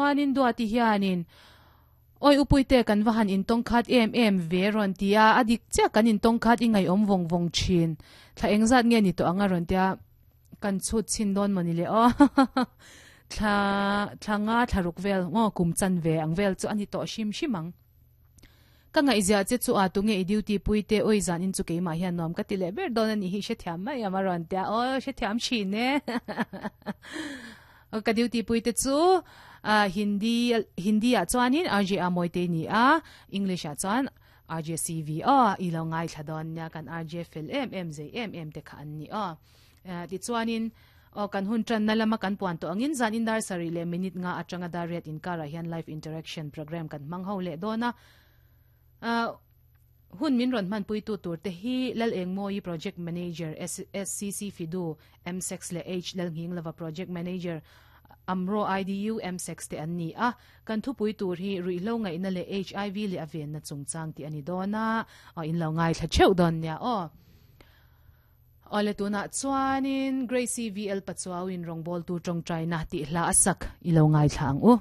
Chuanin Duati hianin Awi upuite kan va han intawng khat em em ve rawn ti a, a dik chiah kan intawng khat i ngaihawm vawng vawng thin. Thla engzat nge ni tawh ang a rawn ti a, kan chhut chhin dawn mawni le aw. Thla thla nga thla ruk vel ngaw kum chan ve ang vel chu a ni tawh hrim hrim ang. Ka ngaihziah che chu a tunge i duty pui te awi zan in chu keimah hian nuam ka ti leh ber dawn a nih hi hrethiam mai am a rawn ti a, aw hrethiam thin e. Ka duty pui te chu Hindi Hindi ah chuanin RJ Amoy te ni a, English ah chuan RJ CV aw i lo ngaithla dawn nia kan RJ fel em em zei em em te kha an ni aw. Tichuanin aw kan hun tanna lama kan puan tawh angin zan in dar sarih leh minute nga atanga dar riat inkarah hian live interaction program kan hmang ho leh dawn a. Hun min rawn hmanpuitu tur te hi Lal Engmawi Project Manager SCC Fidu MSEX leh H Lalnghinglova Project Manager Amro IDU MSEX te an ni a. Kan thupui tur hi ruihhlo ngaihna leh HIV leh a venna chungchang tih a ni dawn a, aw in lo ngaithla theuh dawn nia aw. Awle tunah chuanin Gracie VL Pachuau in rawngbawltu tawngtaina tih hla a sak i lo ngaithla ang u.